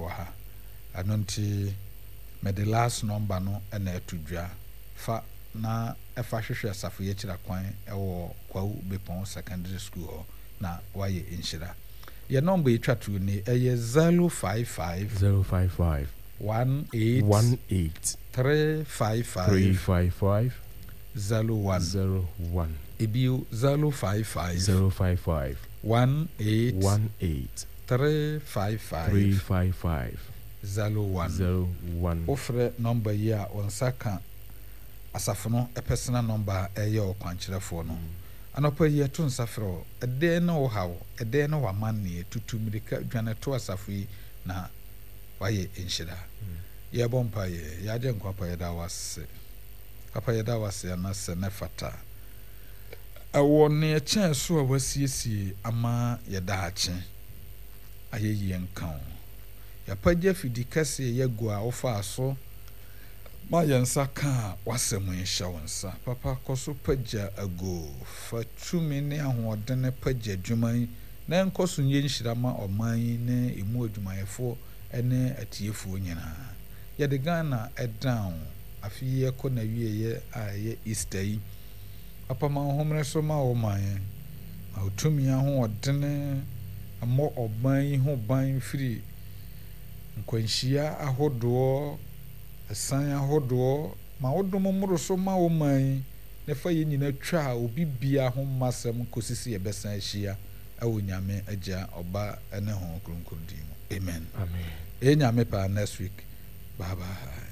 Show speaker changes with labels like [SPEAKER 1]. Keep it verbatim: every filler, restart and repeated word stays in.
[SPEAKER 1] wɔ ha. Ɛno nti mede last number no na ɛto dwa. Fa na ɛfa hwehwɛ asafo yi akyiri akwan ɛwɔ Kwawu Bepɔn Secondary School hɔ na wayɛ nhyira. Yɛ number etwa to ni, ɛyɛ zero five five
[SPEAKER 2] zero five five
[SPEAKER 1] one eight
[SPEAKER 2] one eight
[SPEAKER 1] three five five
[SPEAKER 2] three five five
[SPEAKER 1] zero one
[SPEAKER 2] zero one.
[SPEAKER 1] Ebio, zero five five
[SPEAKER 2] zero five five
[SPEAKER 1] one eight
[SPEAKER 2] one eight
[SPEAKER 1] three five five
[SPEAKER 2] three five five
[SPEAKER 1] zero one.
[SPEAKER 2] zero one.
[SPEAKER 1] Wofrɛ number yi a, wɔn nsa ka asafo no personal number a ɛyɛ ɔkwankyerɛfoɔ no. Anɔpa yi yɛto nsa frɛ wo, ɛdɛn ne wo haw, ɛdɛn ne w'amanneɛ? Tutu mmirika dwane to asafo yi na wayɛ nhyira. Yɛbɔ mpa yɛ yɛagye nkwa pa. Yɛda wo ase, Papa, yɛda wo ase anasɛ ne fata ɛwɔ neɛ kyɛn so a wasiesie ama yɛdaakye. Ayɛyie nka wo. Yɛapagya fidi kɛseɛ yɛagu a wofaa so ma yɛn nsa ka a w'asɛm yi hyɛ wo nsa. Papa, kɔ so pagya ago, fa tumi ne ahoɔden pagya adwuma yi na ɛnkɔ so nyɛ nhyira ma ɔman yi ne emu adwumayɛfoɔ ne atiefoɔ nyinaa. Yɛde Ghana ɛdan wo. Afe yi ɛkɔ n'awieeɛ a ɛyɛ Easter yi, Papa, ma wo homene so ma wo man, ma wo tumi ahoɔdene mmɔ ɔman yi ho ban firi nkwanhyia ahodoɔ, ɛsan ahodoɔ. Ma wo dom mmoro so ma wo man yi na fa yɛn nyinaa twa a obi bia ho mma asɛm kɔsi sɛ yɛbɛsan ahyia ɛwɔ Nyame Agya, Ɔba ne Honhom Kronkron din mu, amen.
[SPEAKER 2] Amen.
[SPEAKER 1] Ɛyɛ Nyame paa, next week. Bye bye.